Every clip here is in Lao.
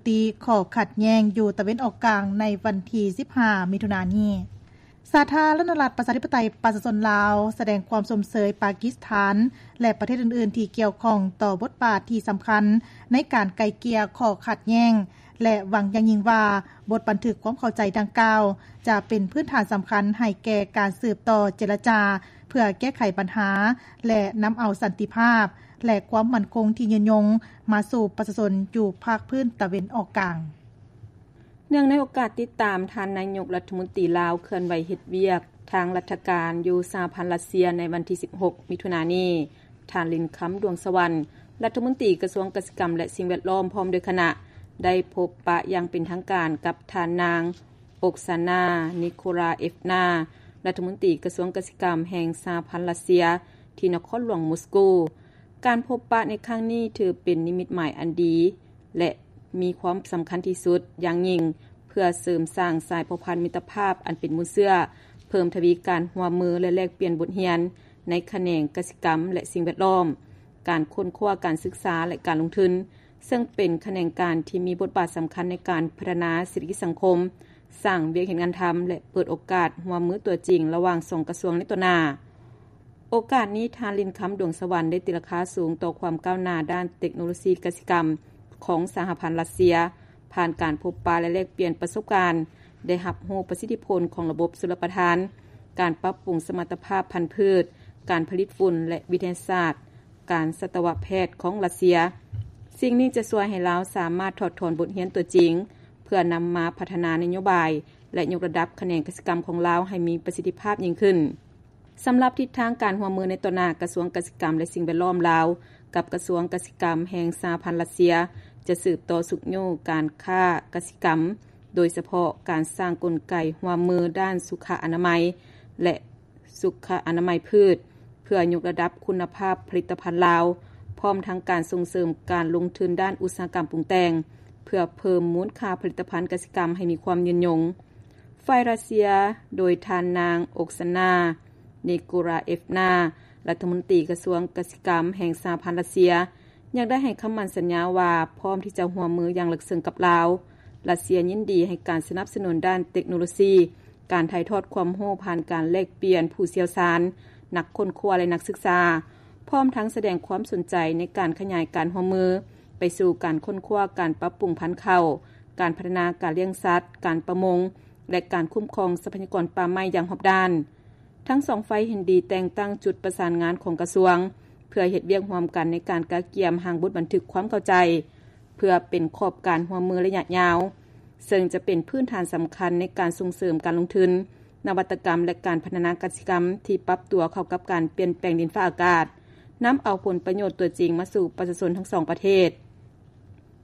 ຕິຂໍ້ຂັດແຍ້ງຢູ່ຕາເວັນອອກກາງໃນວັນທີສິບຫ້າ ມິຖຸນານີ້. ສາທາລະນະລັດ ປະຊາທິປະໄຕ ປະຊາຊົນລາວ ສະແດງຄວາມຊົມເຊີຍປາກິສຖານ ແລະ ປະເທດອື່ນໆທີ່ກ່ຽວຂ້ອງຕໍ່ບົດບາດທີ່ສຳຄັນໃນການໄກ່ເກ່ຍຂໍ້ຂັດແຍ້ງ ແລະ ຫວັງຢ່າງຍິ່ງວ່າ ບົດບັນທຶກຄວາມເຂົ້າໃຈດັ່ງກ່າວ ຈະເປັນພື້ນຖານສຳຄັນໃຫ້ແກ່ການສືບຕໍ່ເຈລະຈາ ເພື່ອແກ້ໄຂບັນຫາ ແລະ ນຳເອົາສັນຕິພາບ ແລະ ຄວາມໝັ້ນຄົງທີ່ຍືນຍົງມາສູ່ປະຊາຊົນຢູ່ພາກພື້ນຕາເວັນອອກກາງ. ເນື່ອງໃນໂອກາດຕິດຕາມທ່ານນາຍົກລັດຖະມົນຕີລາວເຄື່ອນໄຫວເຮັດວຽກທາງລັດຖະການຢູ່ສະຫະພັນຣັດເຊຍໃນວັນທີສິບຫົກ ມິຖຸນານີ້, ທ່ານ ລິນຄຳ ດວງສະຫວັນ ລັດຖະມົນຕີກະຊວງກະສິກຳ ແລະ ສິ່ງແວດລ້ອມ ພ້ອມດ້ວຍຄະນະ ໄດ້ພົບປະຢ່າງເປັນທາງການກັບທ່ານນາງ ໂອກຊານາ ນິໂຄລາເອຟນາ ລັດຖະມົນຕີກະຊວງກະສິກຳແຫ່ງສະຫະພັນຣັດເຊຍ ທີ່ນະຄອນຫຼວງມົສໂກ. ການພົບປະໃນຄັ້ງນີ້ຖືເປັນນິມິດໝາຍອັນດີ ແລະ ມີຄວາມສຳຄັນທີ່ສຸດຢ່າງຍິ່ງ ເພື່ອເສີມສ້າງສາຍພົວພັນມິດຕະພາບອັນເປັນມູນເຊື້ອ, ເພີ່ມທະວີການຮ່ວມມື ແລະ ແລກປ່ຽນບົດຮຽນໃນຂະແໜງກະສິກຳ ແລະ ສິ່ງແວດລ້ອມ, ການຄົ້ນຄວ້າ, ການສຶກສາ ແລະ ການລົງທຶນ, ເຊິ່ງເປັນຂະແໜງການທີ່ມີບົດບາດສຳຄັນໃນການພັດທະນາເສດຖະກິດສັງຄົມ, ສ້າງວຽກເຮັດງານທຳ ແລະ ເປີດໂອກາດຮ່ວມມືຕົວຈິງລະຫວ່າງສອງກະຊວງໃນຕໍ່ໜ້າ. ໂອກາດນີ້, ທ່ານ ລິນຄຳ ດວງສະຫວັນ ໄດ້ຕີລາຄາສູງຕໍ່ຄວາມກ້າວໜ້າດ້ານເຕັກໂນໂລຊີກະສິກຳຂອງສະຫະພັນຣັດເຊຍ, ຜ່ານການພົບປະ ແລະ ແລກປ່ຽນປະສົບການ, ໄດ້ຮັບຮູ້ປະສິດທິຜົນຂອງລະບົບຊົນລະປະທານ, ການປັບປຸງສະມັດຕະພາບພັນພືດ, ການຜະລິດຝຸ່ນ ແລະ ວິທະຍາສາດການສັດຕະວະແພດຂອງຣັດເຊຍ. ສິ່ງນີ້ຈະຊ່ວຍໃຫ້ລາວສາມາດຖອດຖອນບົດຮຽນຕົວຈິງ ເພື່ອນຳມາພັດທະນານະໂຍບາຍ ແລະ ຍົກລະດັບຂະແໜງກະສິກຳຂອງລາວໃຫ້ມີປະສິດທິພາບຍິ່ງຂຶ້ນ. ສຳລັບທິດທາງການຮ່ວມມືໃນຕໍ່ໜ້າ, ກະຊວງກະສິກຳ ແລະ ສິ່ງແວດລ້ອມລາວ ກັບກະຊວງກະສິກຳແຫ່ງສະຫະພັນຣັດເຊຍ ຈະສືບຕໍ່ຊຸກຍູ້ການຄ້າກະສິກຳ, ໂດຍສະເພາະການສ້າງກົນໄກຮ່ວມມືດ້ານສຸຂະອະນາໄມ ແລະ ສຸຂະອະນາໄມພືດ ເພື່ອຍົກລະດັບຄຸນນະພາບຜະລິດຕະພັນລາວ, ພ້ອມທັງການສົ່ງເສີມການລົງທຶນດ້ານອຸດສາຫະກຳປຸງແຕ່ງ ເພື່ອເພີ່ມມູນຄ່າຜະລິດຕະພັນກະສິກຳໃຫ້ມີຄວາມຍືນຍົງ. ຝ່າຍຣັດເຊຍ ໂດຍທ່ານນາງ ໂອກຊານາ ນິໂກລາເອຟນາ ລັດຖະມົນຕີກະຊວງກະສິກຳແຫ່ງສະຫະພັນຣັດເຊຍ ຍັງໄດ້ໃຫ້ຄຳໝັ້ນສັນຍາວ່າ ພ້ອມທີ່ຈະຮ່ວມມືຢ່າງເລິກເຊິ່ງກັບລາວ. ຣັດເຊຍຍິນດີໃຫ້ການສະໜັບສະໜູນດ້ານເຕັກໂນໂລຊີ, ການຖ່າຍທອດຄວາມຮູ້ຜ່ານການແລກປ່ຽນຜູ້ຊ່ຽວຊານ, ນັກຄົ້ນຄວ້າ ແລະ ນັກສຶກສາ, ພ້ອມທັງສະແດງຄວາມສົນໃຈໃນການຂະຫຍາຍການຮ່ວມມືໄປສູ່ການຄົ້ນຄວ້າ, ການປັບປຸງພັນເຂົ້າ, ການພັດທະນາການລ້ຽງສັດ, ການປະມົງ ແລະ ການຄຸ້ມຄອງຊັບພະຍາກອນປ່າໄມ້ຢ່າງຮອບດ້ານ. ທັງສອງຝ່າຍເຫັນດີແຕ່ງຕັ້ງຈຸດປະສານງານຂອງກະຊວງ ເພື່ອເຮັດວຽກຮ່ວມກັນໃນການກະກຽມຮ່າງບົດບັນທຶກຄວາມເຂົ້າໃຈ ເພື່ອເປັນຂອບການຮ່ວມມືໄລຍະຍາວ, ເຊິ່ງຈະເປັນພື້ນຖານສຳຄັນໃນການສົ່ງເສີມການລົງທຶນ, ນະວັດຕະກຳ ແລະ ການພັດທະນາກະສິກຳທີ່ປັບຕົວເຂົ້າກັບການປ່ຽນແປງດິນຟ້າອາກາດ, ນຳເອົາຜົນປະໂຫຍດຕົວຈິງມາສູ່ປະຊາຊົນທັງສອງປະເທດ.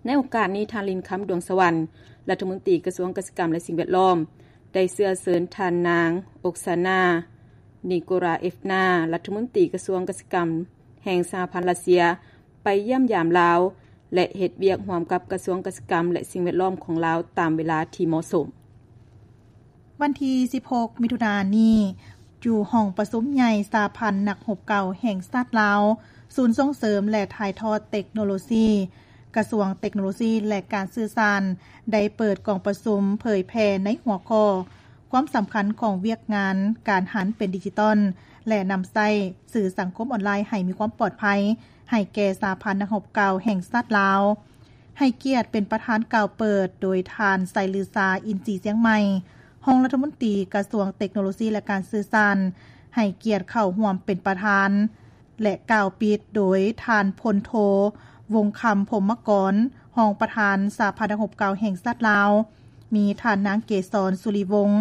ໃນໂອກາດນີ້, ທ່ານ ລິນຄຳ ດວງສະຫວັນ ລັດຖະມົນຕີກະຊວງກະສິກຳ ແລະ ສິ່ງແວດລ້ອມ ໄດ້ເຊື້ອເຊີນທ່ານນາງ ໂອກຊານາ ນິໂກລາເອຟນາ ລັດຖະມົນຕີກະຊວງກະສິກຳແຫ່ງສະຫະພັນຣັດເຊຍ ໄປຢ້ຽມຢາມລາວ ແລະ ເຮັດວຽກຮ່ວມກັບກະຊວງກະສິກຳ ແລະ ສິ່ງແວດລ້ອມຂອງລາວຕາມເວລາທີ່ເໝາະສົມ. ວັນທີສິບຫົກ ມິຖຸນານີ້, ຢູ່ຫ້ອງປະຊຸມໃຫຍ່ສະຫະພັນນັກຮົບເກົ່າແຫ່ງຊາດລາວ, ສູນສົ່ງເສີມ ແລະ ຖ່າຍທອດເຕັກໂນໂລຊີ, ກະຊວງເຕັກໂນໂລຊີ ແລະ ການສື່ສານ ໄດ້ເປີດກອງປະຊຸມເຜີຍແຜ່ໃນຫົວຂໍ້ ຄວາມສຳຄັນຂອງວຽກງານການຫັນເປັນດິຈິຕອນ ແລະ ນຳໃຊ້ສື່ສັງຄົມອອນລາຍໃຫ້ມີຄວາມປອດໄພ ໃຫ້ແກ່ສະຫະພັນນັກຮົບເກົ່າແຫ່ງຊາດລາວ. ໃຫ້ກຽດເປັນປະທານກ່າວເປີດໂດຍທ່ານ ໄຊລືຊາ ອິນສີຊຽງໃໝ່ ຮອງລັດຖະມົນຕີກະຊວງເຕັກໂນໂລຊີ ແລະ ການສື່ສານ, ໃຫ້ກຽດເຂົ້າຮ່ວມເປັນປະທານ ແລະ ກ່າວປິດໂດຍທ່ານ ພົນໂທ ວົງຄຳ ພົມມະກອນ ຮອງປະທານສະຫະພັນນັກຮົບເກົ່າແຫ່ງຊາດລາວ, ມີທ່ານນາງ ເກສອນ ສຸລິວົງ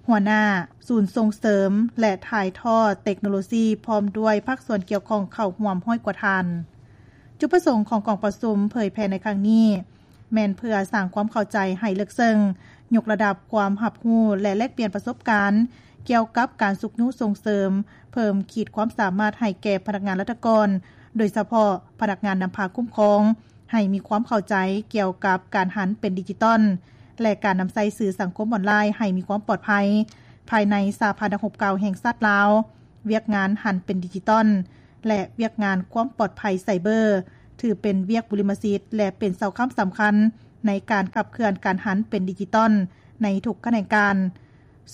ຫົວໜ້າສູນສົ່ງເສີມ ແລະ ຖ່າຍທອດເຕັກໂນໂລຊີ ພ້ອມດ້ວຍພາກສ່ວນກ່ຽວຂ້ອງເຂົ້າຮ່ວມຮ້ອຍກວ່າທ່ານ. ຈຸດປະສົງຂອງກອງປະຊຸມເຜີຍແຜ່ໃນຄັ້ງນີ້ ແມ່ນເພື່ອສ້າງຄວາມເຂົ້າໃຈໃຫ້ເລິກເຊິ່ງ, ຍົກລະດັບຄວາມຮັບຮູ້ ແລະ ແລກປ່ຽນປະສົບການກ່ຽວກັບການຊຸກຍູ້ສົ່ງເສີມ, ເພີ່ມຂີດຄວາມສາມາດໃຫ້ແກ່ພະນັກງານລັດຖະກອນ, ໂດຍສະເພາະພະນັກງານນຳພາຄຸ້ມຄອງ, ໃຫ້ມີຄວາມເຂົ້າໃຈກ່ຽວກັບການຫັນເປັນດິຈິຕອນ ແລະ ການນຳໃຊ້ສື່ສັງຄົມອອນລາຍໃຫ້ມີຄວາມປອດໄພ ພາຍໃນສະຫະພັນນັກຮົບເກົ່າແຫ່ງຊາດລາວ. ວຽກງານຫັນເປັນດິຈິຕອນ ແລະ ວຽກງານຄວາມປອດໄພໄຊເບີ ຖືເປັນວຽກບຸລິມະສິດ ແລະ ເປັນເສົາຄ້ຳສຳຄັນ ໃນການຂັບເຄື່ອນການຫັນເປັນດິຈິຕອນໃນທຸກຂະແໜງການ,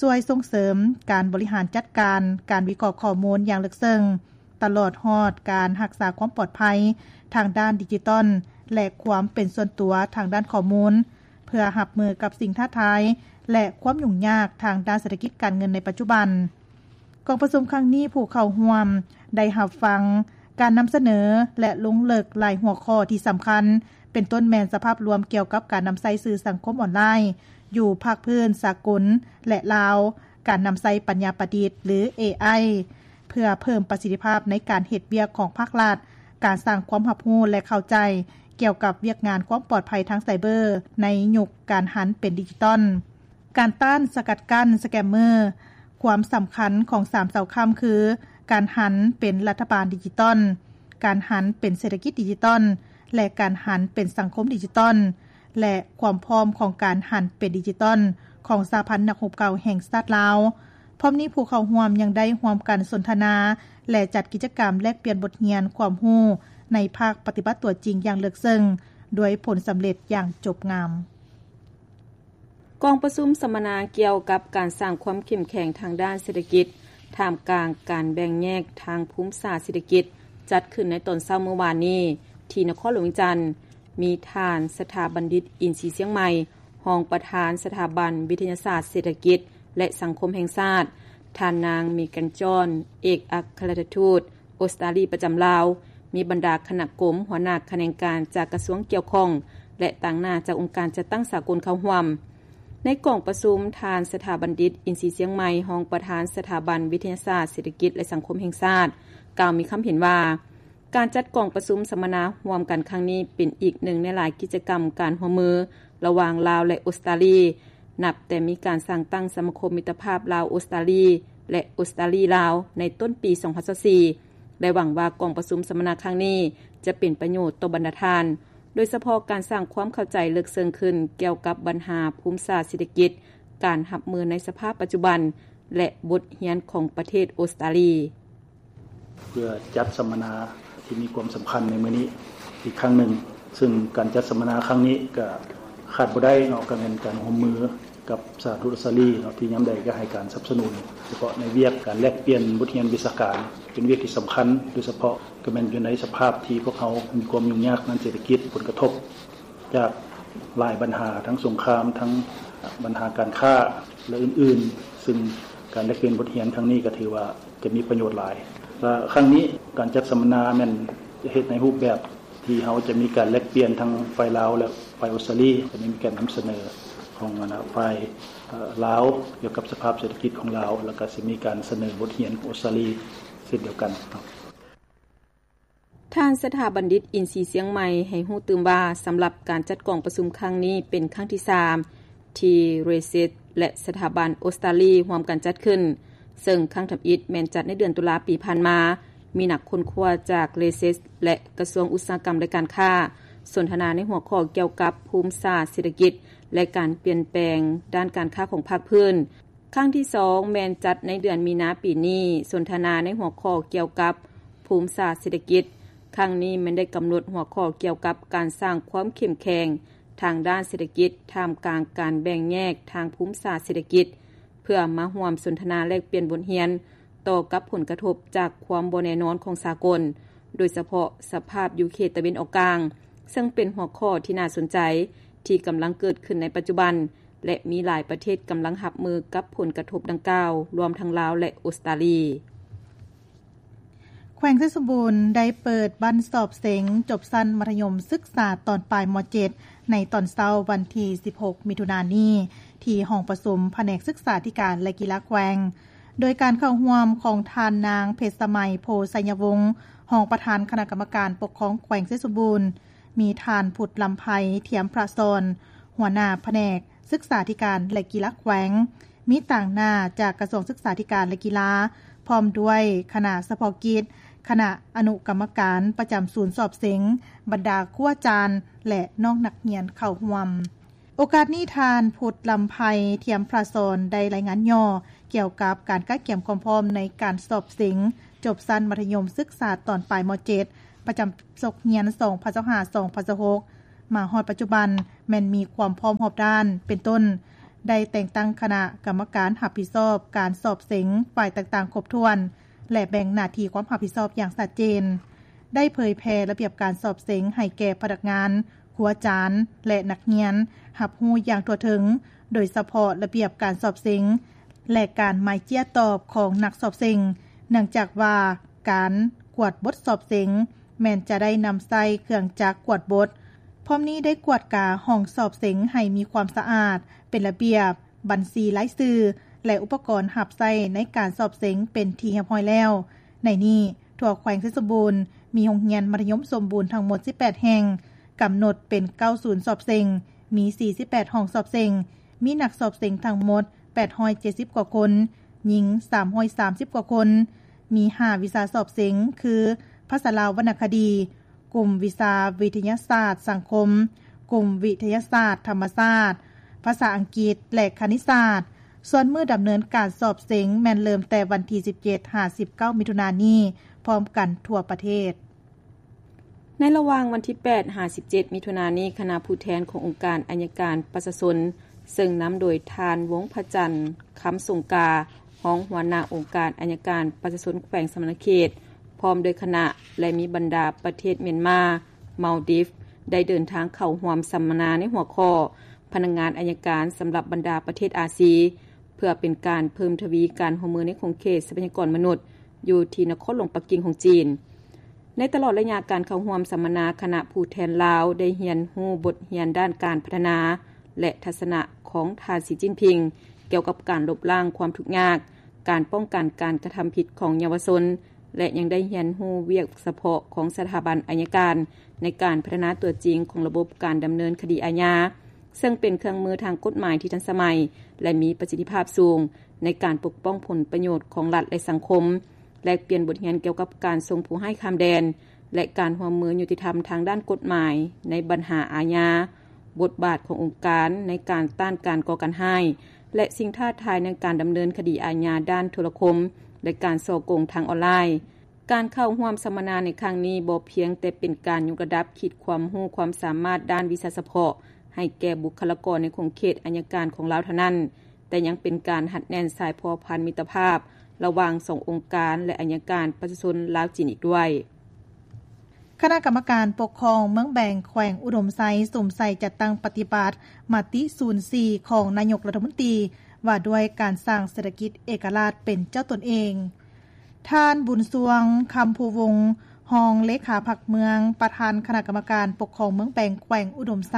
ຊ່ວຍສົ່ງເສີມການບໍລິຫານຈັດການການວິເຄາະຂໍ້ມູນຢ່າງເລິກເຊິ່ງ, ຕະຫຼອດຮອດການຮັກສາຄວາມປອດໄພທາງດ້ານດິຈິຕອນ ແລະ ຄວາມເປັນສ່ວນຕົວທາງດ້ານຂໍ້ມູນ ເພື່ອຮັບມືກັບສິ່ງທ້າທາຍ ແລະ ຄວາມຫຍຸ້ງຍາກທາງດ້ານເສດຖະກິດການເງິນໃນປັດຈຸບັນ. ກອງປະຊຸມຄັ້ງນີ້ ຜູ້ເຂົ້າຮ່ວມໄດ້ຮັບຟັງການນຳສະເໜີ ແລະ ລົງເລິກຫຼາຍຫົວຂໍ້ທີ່ສຳຄັນ, ເປັນຕົ້ນແມ່ນສະພາບລວມກ່ຽວກັບການນຳໃຊ້ສື່ສັງຄົມອອນລາຍຢູ່ພາກພື້ນສາກົນ ແລະ ລາວ, ການນຳໃຊ້ປັນຍາປະດິດ ຫຼື ເອໄອ ເພື່ອເພີ່ມປະສິດທິພາບໃນການເຮັດວຽກຂອງພາກລັດ, ການສ້າງຄວາມຮັບຮູ້ ແລະ ເຂົ້າໃຈກ່ຽວກັບວຽກງານຄວາມປອດໄພທາງໄຊເບີໃນຍຸກການຫັນເປັນດິຈິຕອນ, ການຕ້ານສະກັດກັ້ນສະແກມເມີ ຄວາມສຳຄັນຂອງສາມເສົາຄ້ຳຄື ການຫັນເປັນລັດຖະບານດິຈິຕອນ, ການຫັນເປັນເສດຖະກິດດິຈິຕອນ ແລະ ການຫັນເປັນສັງຄົມດິຈິຕອນ ແລະ ຄວາມພ້ອມຂອງການຫັນເປັນດິຈິຕອນຂອງສະຫະພັນນັກຮົບເກົ່າແຫ່ງຊາດລາວ. ພ້ອມນີ້ ຜູ້ເຂົ້າຮ່ວມຍັງໄດ້ຮ່ວມກັນສົນທະນາ ແລະ ຈັດກິດຈະກຳແລກປ່ຽນບົດຮຽນຄວາມຮູ້ໃນພາກປະຕິບັດຕົວຈິງຢ່າງເລິກເຊິ່ງ ດ້ວຍຜົນສຳເລັດຢ່າງຈົບງາມ. ກອງປະຊຸມສຳມະນາກ່ຽວກັບການສ້າງຄວາມເຂັ້ມແຂງທາງດ້ານເສດຖະກິດ ທ່າມກາງການແບ່ງແຍກທາງພູມສາດເສດຖະກິດ ຈັດຂຶ້ນໃນຕອນເຊົ້າມື້ວານນີ້ ທີ່ນະຄອນຫຼວງວຽງຈັນ, ມີທ່ານ ສະຖາບັນດິດ ອິນຊີຊຽງໃໝ່, ຮອງປະທານສະຖາບັນວິທະຍາສາດເສດຖະກິດ ແລະ ສັງຄົມແຫ່ງຊາດ, ທ່ານນາງ ເມກັນຈອນ, ເອກອັກຄະລັດຖະທູດ ອົດສະຕາລີປະຈຳລາວ, ມີບັນດາຄະນະກົມ, ຫົວໜ້າຂະແໜງການຈາກກະຊວງກ່ຽວຂ້ອງ ແລະ ຕາງໜ້າຈາກອົງການຈັດຕັ້ງສາກົນເຂົ້າຮ່ວມ. ໃນກອງປະຊຸມ, ທ່ານ ສະຖາບັນດິດ ອິນຊີຊຽງໃໝ່, ຮອງປະທານສະຖາບັນວິທະຍາສາດເສດຖະກິດ ແລະ ສັງຄົມແຫ່ງຊາດ, ກ່າວມີຄຳເຫັນວ່າ, ການຈັດກອງປະຊຸມສຳມະນາຮ່ວມກັນຄັ້ງນີ້ ເປັນອີກໜຶ່ງໃນຫຼາຍກິດຈະກຳການຮ່ວມມືລະຫວ່າງລາວ ແລະ ອົດສະຕາລີ, ນັບແຕ່ມີການສ້າງຕັ້ງສະມາຄົມມິດຕະພາບລາວ-ອົດສະຕາລີ ແລະ ອົດສະຕາລີ-ລາວ ໃນຕົ້ນປີສອງພັນຊາວສີ່ ແລະ ຫວັງວ່າກອງປະຊຸມສຳມະນາຄັ້ງນີ້ຈະເປັນປະໂຫຍດຕໍ່ບັນດາທ່ານ, ໂດຍສະເພາະການສ້າງຄວາມເຂົ້າໃຈເລິກເຊິ່ງຂຶ້ນກ່ຽວກັບບັນຫາພູມສາດເສດຖະກິດ, ການຮັບມືໃນສະພາບປັດຈຸບັນ ແລະ ບົດຮຽນຂອງປະເທດອົດສະຕາລີ. ເພື່ອຈັດສຳມະນາທີ່ມີຄວາມສຳຄັນໃນມື້ນີ້ອີກຄັ້ງໜຶ່ງ, ເຊິ່ງການຈັດສຳມະນາຄັ້ງນີ້ກໍຂາດບໍ່ໄດ້ເນາະ, ກໍແມ່ນການຮ່ວມມືກັບສະຖານທູດອົດສະຕາລີເນາະ, ທີ່ຍາມໃດກໍໃຫ້ການສະໜັບສະໜູນ, ໂດຍສະເພາະໃນວຽກການແລກປ່ຽນບົດຮຽນວິຊາການ ເປັນວຽກທີ່ສຳຄັນ, ໂດຍສະເພາະກໍແມ່ນຢູ່ໃນສະພາບທີ່ພວກເຮົາມີຄວາມຫຍຸ້ງຍາກທາງເສດຖະກິດ, ຜົນກະທົບ ຈາກຫຼາຍບັນຫາ, ທັງສົງຄາມ, ທັງບັນຫາການຄ້າ ແລະ ອື່ນໆ, ຊຶ່ງການແລກປ່ຽນບົດຮຽນຄັ້ງນີ້ກໍຖືວ່າຈະມີປະໂຫຍດຫຼາຍ. ແລະ ຄັ້ງນີ້ການຈັດສຳມະນາແມ່ນຈະເຮັດໃນຮູບແບບທີ່ເຮົາຈະມີການແລກປ່ຽນທັງຝ່າຍລາວ ແລະ ຝ່າຍອົດສະຕາລີ, ກໍໄດ້ມີການນຳສະເໜີຂອງ ອັນ ຝ່າຍ ເອີ ລາວ ກ່ຽວກັບສະພາບເສດຖະກິດຂອງລາວ, ແລ້ວກໍຊິມີການສະເໜີບົດຮຽນຂອງອົດສະຕາລີເຊັ່ນດຽວກັນເນາະ. ທ່ານ ສະຖາບັນດິດ ອິນຊີຊຽງໃໝ່ ໃຫ້ຮູ້ຕື່ມວ່າ, ສຳລັບການຈັດກອງປະຊຸມຄັ້ງນີ້ເປັນຄັ້ງທີສາມ ທີ່ເຣເຊສ ແລະ ສະຖາບັນອົດສະຕາລີຮ່ວມກັນຈັດຂຶ້ນ, ເຊິ່ງຄັ້ງທຳອິດແມ່ນຈັດໃນເດືອນຕຸລາປີຜ່ານມາ, ມີນັກຄົ້ນຄວ້າຈາກເຣເຊສ ແລະ ກະຊວງອຸດສາຫະກຳ ແລະ ການຄ້າ ສົນທະນາໃນຫົວຂໍ້ກ່ຽວກັບພູມສາດເສດຖະກິດ ແລະ ການປ່ຽນແປງດ້ານການຄ້າຂອງພາກພື້ນ. ຄັ້ງທີສອງແມ່ນຈັດໃນເດືອນມີນາປີນີ້, ສົນທະນາໃນຫົວຂໍ້ກ່ຽວກັບພູມສາດເສດຖະກິດ. ຄັ້ງນີ້ແມ່ນໄດ້ກຳນົດຫົວຂໍ້ກ່ຽວກັບການສ້າງຄວາມເຂັ້ມແຂງທາງດ້ານເສດຖະກິດ ທ່າມກາງການແບ່ງແຍກທາງພູມສາດເສດຖະກິດ, ເພື່ອມາຮ່ວມສົນທະນາແລກປ່ຽນບົດຮຽນຕໍ່ກັບຜົນກະທົບຈາກຄວາມບໍ່ແນ່ນອນຂອງສາກົນ, ໂດຍສະເພາະສະພາບຢູ່ເຂດຕາເວັນອອກກາງ, ເຊິ່ງເປັນຫົວຂໍ້ທີ່ໜ້າສົນໃຈ ທີ່ກຳລັງເກີດຂຶ້ນໃນປັດຈຸບັນ ແລະ ມີຫຼາຍປະເທດກຳລັງຮັບມືກັບຜົນກະທົບດັ່ງກ່າວ, ລວມທັງລາວ ແລະ ອົດສະຕາລີ. ແຂວງໄຊສົມບູນໄດ້ເປີດບັ້ນສອບເສັງຈົບຊັ້ນມັດທະຍົມສຶກສາຕອນປາຍ ມ.ເຈັດ ໃນຕອນເຊົ້າວັນທີສິບຫົກ ມິຖຸນານີ້ ທີ່ຫ້ອງປະຊຸມພະແນກສຶກສາທິການ ແລະ ກິລາແຂວງ, ໂດຍການເຂົ້າຮ່ວມຂອງທ່ານນາງ ເພັດສະໄໝ ໂພໄຊຍະວົງ ຮອງປະທານຄະນະກຳມະການປົກຄອງແຂວງໄຊສົມບູນ, ມີທ່ານ ພຸດລຳໄພ ທຽມພະສອນ ຫົວໜ້າພະແນກສຶກສາທິການ ແລະ ກິລາແຂວງ, ມີຕາງໜ້າຈາກກະຊວງສຶກສາທິການ ແລະ ກິລາ, ພ້ອມດ້ວຍຄະນະສະເພາະກິດ, ຄະນະອະນຸກຳມະການປະຈຳສູນສອບເສັງ, ບັນດາຄູອາຈານ ແລະ ນ້ອງນັກຮຽນເຂົ້າຮ່ວມ. ໂອກາດນີ້ ທ່ານ ພຸດລຳໄພ ທຽມພະສອນ ໄດ້ລາຍງານຫຍໍ້ກ່ຽວກັບການກະກຽມຄວາມພ້ອມໃນການສອບເສັງຈົບຊັ້ນມັດທະຍົມສຶກສາຕອນປາຍ ມ.ເຈັດ ປະຈຳສົກຮຽນ ສອງພັນຊາວຫ້າ ສອງພັນຊາວຫົກ ມາຮອດປັດຈຸບັນແມ່ນມີຄວາມພ້ອມຮອບດ້ານ ເປັນຕົ້ນ ໄດ້ແຕ່ງຕັ້ງຄະນະກຳມະການຮັບຜິດຊອບການສອບເສັງຝ່າຍຕ່າງໆຄົບຖ້ວນ ແລະ ແບ່ງໜ້າທີ່ຄວາມຮັບຜິດຊອບຢ່າງຊັດເຈນ, ໄດ້ເຜີຍແຜ່ລະບຽບການສອບເສັງໃຫ້ແກ່ພະນັກງານ, ຄູອາຈານ ແລະ ນັກຮຽນຮັບຮູ້ຢ່າງທົ່ວເຖິງ, ໂດຍສະເພາະລະບຽບການສອບເສັງ ແລະ ການໝາຍເຈ້ຍຕອບຂອງນັກສອບເສັງ, ເນື່ອງຈາກວ່າການກວດບົດສອບເສັງ ແມ່ນຈະໄດ້ນຳໃຊ້ເຄື່ອງຈັກກວດບົດ. ພ້ອມນີ້ໄດ້ກວດກາຫ້ອງສອບເສັງໃຫ້ມີຄວາມສະອາດ, ເປັນລະບຽບ, ບັນຊີລາຍຊື່ ແລະ ອຸປະກອນຮັບໃຊ້ໃນການສອບເສັງເປັນທີ່ຮຽບຮ້ອຍແລ້ວ. ໃນນີ້, ທົ່ວແຂວງໄຊສົມບູນ ມີໂຮງຮຽນມັດທະຍົມສົມບູນທັງໝົດສິບແປດແຫ່ງ, ກຳນົດເປັນເກົ້າສູນສອບເສັງ, ມີສີ່ສິບແປດຫ້ອງສອບເສັງ, ມີນັກສອບເສັງທັງໝົດແປດຮ້ອຍເຈັດສິບກວ່າຄົນ, ຍິງສາມຮ້ອຍສາມສິບກວ່າຄົນ, ມີຫ້າວິຊາສອບເສັງ ຄື ພາສາລາວວັນນະຄະດີ, ກຸ່ມວິຊາວິທະຍາສາດສັງຄົມ, ກຸ່ມວິທະຍາສາດທຳມະຊາດ, ພາສາອັງກິດ ແລະ ຄະນິດສາດ. ສ່ວນມື້ດຳເນີນການສອບເສັງແມ່ນເລີ່ມແຕ່ວັນທີສິບເຈັດຫາສິບເກົ້າມິຖຸນານີ້ ພ້ອມກັນທົ່ວປະເທດ. ໃນລະຫວ່າງວັນທີແປດຫາສິບເຈັດມິຖຸນານີ້, ຄະນະຜູ້ແທນຂອງອົງການໄອຍະການປະຊາຊົນ ເຊິ່ງນຳໂດຍທ່ານ ວົງພະຈັນ ຄຳສົງກາ, ຮອງຫົວໜ້າອົງການໄອຍະການປະຊາຊົນແຂວງສະຫວັນນະເຂດ ພ້ອມດ້ວຍຄະນະ ແລະ ມີບັນດາປະເທດມຽນມາ, ມາລດີຟ ໄດ້ເດີນທາງເຂົ້າຮ່ວມສຳມະນາໃນຫົວຂໍ້ ພະນັກງານໄອຍະການສຳລັບບັນດາປະເທດອາຊີ ເພື່ອເປັນການເພີ່ມທະວີການຮ່ວມມືໃນຂົງເຂດຊັບພະຍາກອນມະນຸດ ຢູ່ທີ່ນະຄອນຫຼວງປັກກິ່ງຂອງຈີນ. ໃນຕະຫຼອດໄລຍະການເຂົ້າຮ່ວມສຳມະນາ, ຄະນະຜູ້ແທນລາວໄດ້ຮຽນຮູ້ບົດຮຽນດ້ານການພັດທະນາ ແລະ ທັດສະນະຂອງທ່ານ ສີຈິ້ນຜິງ ກ່ຽວກັບການລົບລ້າງຄວາມທຸກຍາກ, ການປ້ອງກັນການກະທຳຜິດຂອງເຍົາວະຊົນ ແລະ ຍັງໄດ້ຮຽນຮູ້ວຽກສະເພາະຂອງສະຖາບັນໄອຍະການ ໃນການພັດທະນາຕົວຈິງຂອງລະບົບການດຳເນີນຄະດີອາຍາ, ເຊິ່ງເປັນເຄື່ອງມືທາງກົດໝາຍທີ່ທັນສະໄໝ ແລະ ມີປະສິດທິພາບສູງ ໃນການປົກປ້ອງຜົນປະໂຫຍດຂອງລັດ ແລະ ສັງຄົມ, ແລກປ່ຽນບົດຮຽນກ່ຽວກັບການສົ່ງຜູ້ຮ້າຍຂ້າມແດນ ແລະ ການຮ່ວມມືຍຸຕິທຳທາງດ້ານກົດໝາຍໃນບັນຫາອາຍາ, ບົດບາດຂອງອົງການໃນການຕ້ານການກໍ່ການຮ້າຍ ແລະ ສິ່ງທ້າທາຍໃນການດຳເນີນຄະດີອາຍາດ້ານໂທລະຄົມ ແລະ ການສໍ້ໂກງທາງອອນລາຍ. ການເຂົ້າຮ່ວມສຳມະນາໃນຄັ້ງນີ້ ບໍ່ພຽງແຕ່ເປັນການຍົກລະດັບຂີດຄວາມຮູ້ຄວາມສາມາດດ້ານວິຊາສະເພາະໃຫ້ແກ່ບຸກຄະລາກອນໃນຂົງເຂດໄອຍະການຂອງລາວເທົ່ານັ້ນ, ແຕ່ຍັງເປັນການຮັດແໜ້ນສາຍພົວພັນມິດຕະພາບລະຫວ່າງສອງອົງການ ແລະ ໄອຍະການປະຊາຊົນລາວ-ຈີນອີກດ້ວຍ. ຄະນະກຳມະການປົກຄອງເມືອງແບງ ແຂວງອຸດົມໄຊ ສຸມໃສ່ຈັດຕັ້ງປະຕິບັດມະຕິສູນສີ່ຂອງນາຍົກລັດຖະມົນຕີ ວ່າດ້ວຍການສ້າງເສດຖະກິດເອກະລາດເປັນເຈົ້າຕົນເອງ. ທ່ານ ບຸນຊ່ວງ ຄຳພູວົງ ຮອງເລຂາພັກເມືອງ, ປະທານຄະນະກຳມະການປົກຄອງເມືອງແບງ ແຂວງອຸດົມໄຊ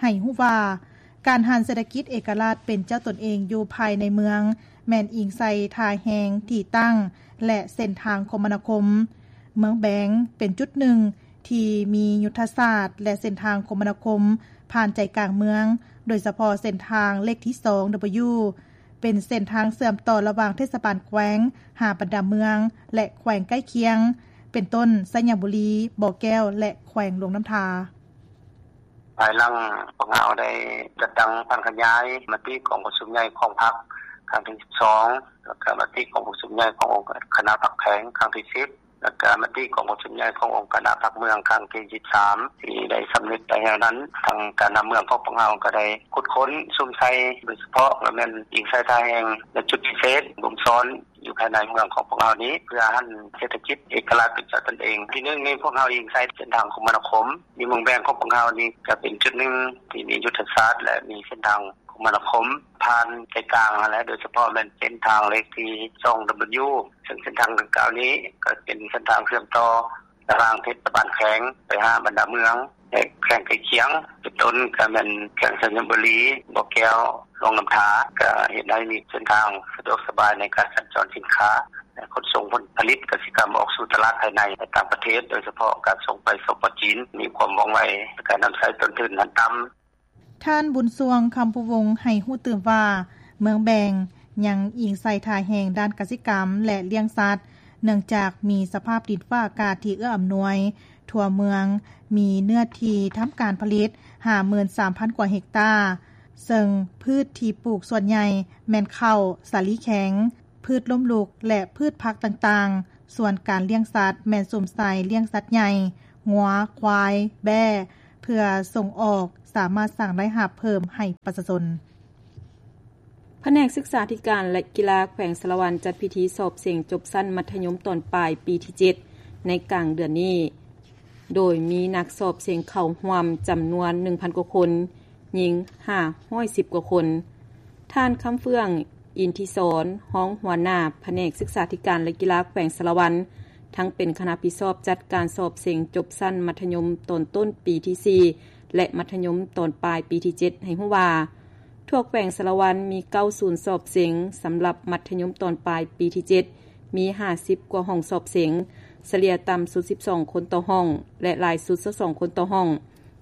ໃຫ້ຮູ້ວ່າ, ການຫັນເສດຖະກິດເອກະລາດເປັນເຈົ້າຕົນເອງຢູ່ພາຍໃນເມືອງ ແມ່ນອີງໃສ່ທ່າແຮງ, ທີ່ຕັ້ງ ແລະ ເສັ້ນທາງຄົມມະນາຄົມ. ເມືອງແບງເປັນຈຸດໜຶ່ງທີ່ມີຍຸດທະສາດ ແລະ ເສັ້ນທາງຄົມມະນາຄົມຜ່ານໃຈກາງເມືອງ, ໂດຍສະເພາະເສັ້ນທາງເລກທີສອງ W ເປັນເສັ້ນທາງເຊື່ອມຕໍ່ລະຫວ່າງເທດສະບານແຂວງຫາບັນດາເມືອງ ແລະ ແຂວງໃກ້ຄຽງ ເປັນຕົ້ນ ໄຊຍະບູລີ, ບໍ່ແກ້ວ ແລະ ແຂວງຫຼວງນ້ຳທາ. ພາຍຫຼັງພວກເຮົາໄດ້ຈັດຕັ້ງຜັນຂະຫຍາຍມະຕິກອງປະຊຸມໃຫຍ່ຂອງພັກຄັ້ງທີສິບສອງ ແລ້ວກະມະຕິກອງປະຊຸມໃຫຍ່ຂອງຄະນະພັກແຂວງຄັ້ງທີສິບ ແລ້ວກະມະຕິກອງປະຊຸມໃຫຍ່ຂອງອົງຄະນະພັກເມືອງຄັ້ງທີສິບສາມ ທີ່ໄດ້ສຳເລັດໄປແລ້ວນັ້ນ, ທາງການນຳເມືອງຂອງພວກເຮົາກໍໄດ້ຂຸດຄົ້ນສຸມໃສ່ ໂດຍສະເພາະກໍແມ່ນອີງໃສ່ທ່າແຮງ ແລະ ຈຸດພິເສດ ບົ່ມຊ້ອນ ຢູ່ພາຍໃນເມືອງຂອງພວກເຮົານີ້ ເພື່ອຫັນເສດຖະກິດເອກະລາດເປັນເຈົ້າຕົນເອງ. ທີໜຶ່ງນີ້ ພວກເຮົາອີງໃສ່ເສັ້ນທາງຄົມມະນາຄົມ. ຢູ່ເມືອງແບງຂອງພວກເຮົານີ້ ກໍເປັນຈຸດໜຶ່ງທີ່ມີຍຸດທະສາດ ແລະ ມີເສັ້ນທາງຄົມມະນາຄົມຜ່ານໃຈກາງຫັ້ນແຫຼະ, ໂດຍສະເພາະແມ່ນເສັ້ນທາງເລກທີສອງ W ເຊິ່ງເສັ້ນທາງດັ່ງກ່າວນີ້ ກໍເປັນເສັ້ນທາງເຊື່ອມຕໍ່ລະຫວ່າງເທດສະບານແຂວງໄປຫາບັນດາເມືອງ ແລະ ແຂວງໃກ້ຄຽງ ເປັນຕົ້ນກໍແມ່ນແຂວງໄຊຍະບູລີ, ບໍ່ແກ້ວ, ຫຼວງນ້ຳທາ ກໍເຮັດໃຫ້ມີເສັ້ນທາງສະດວກສະບາຍໃນການສັນຈອນສິນຄ້າ ແລະ ຂົນສົ່ງຜົນຜະລິດກະສິກຳອອກສູ່ຕະຫຼາດພາຍໃນ ແລະ ຕ່າງປະເທດ, ໂດຍສະເພາະການສົ່ງໄປ ສປ ຈີນ ມີຄວາມວ່ອງໄວ ແລະ ການນຳໃຊ້ຕົ້ນທຶນຫັ້ນຕ່ຳ. ທ່ານ ບຸນຊ່ວງ ຄຳພູວົງ ໃຫ້ຮູ້ຕື່ມວ່າ ເມືອງແບງຍັງອີງໃສ່ທ່າແຮງດ້ານກະສິກຳ ແລະ ລ້ຽງສັດ ເນື່ອງຈາກມີສະພາບດິນຟ້າອາກາດທີ່ເອື້ອອຳນວຍ, ທົ່ວເມືອງມີເນື້ອທີ່ທຳການຜະລິດຫ້າໝື່ນສາມພັນກວ່າເຮັກຕາ, ເຊິ່ງພືດທີ່ປູກສ່ວນໃຫຍ່ແມ່ນເຂົ້າ, ສາລີແຂງ, ພືດລົ້ມລຸກ ແລະ ພືດຜັກຕ່າງໆ, ສ່ວນການລ້ຽງສັດແມ່ນສຸມໃສ່ລ້ຽງສັດໃຫຍ່, ງົວ, ຄວາຍ, ແບ້, ເພື່ອສົ່ງອອກ ສາມາດສ້າງລາຍຮັບເພີ່ມໃຫ້ປະຊາຊົນ. ພະແນກສຶກສາທິການ ແລະ ກິລາແຂວງສາລະວັນ ຈັດພິທີສອບເສັງຈົບຊັ້ນມັດທະຍົມຕອນປາຍປີທີເຈັດ ໃນກາງເດືອນນີ້ ໂດຍມີນັກສອບເສັງເຂົ້າຮ່ວມຈຳນວນໜຶ່ງພັນກວ່າຄົນ, ຍິງຫ້າຮ້ອຍສິບກວ່າຄົນ. ທ່ານ ຄຳເຟືອງ ອິນທິສອນ ຮອງຫົວໜ້າພະແນກສຶກສາທິການ ແລະ ກິລາແຂວງສາລະວັນ ທັງເປັນຄະນະຮັບຜິດຊອບຈັດການສອບເສັງຈົບຊັ້ນມັດທະຍົມຕອນຕົ້ນປີທີສີ່ ແລະ ມັດທະຍົມຕອນປາຍປີທີເຈັດ ໃຫ້ຮູ້ວ່າ ທົ່ວແຂວງສາລະວັນມີເກົ້າສູນສອບເສັງສຳລັບມັດທະຍົມຕອນປາຍປີທີເຈັດ ມີຫ້າສິບກວ່າຫ້ອງສອບເສັງ, ສະເລ່ຍຕ່ຳສຸດສິບສອງຄົນຕໍ່ຫ້ອງ ແລະ ຫຼາຍສຸດຊາວສອງຄົນຕໍ່ຫ້ອງ.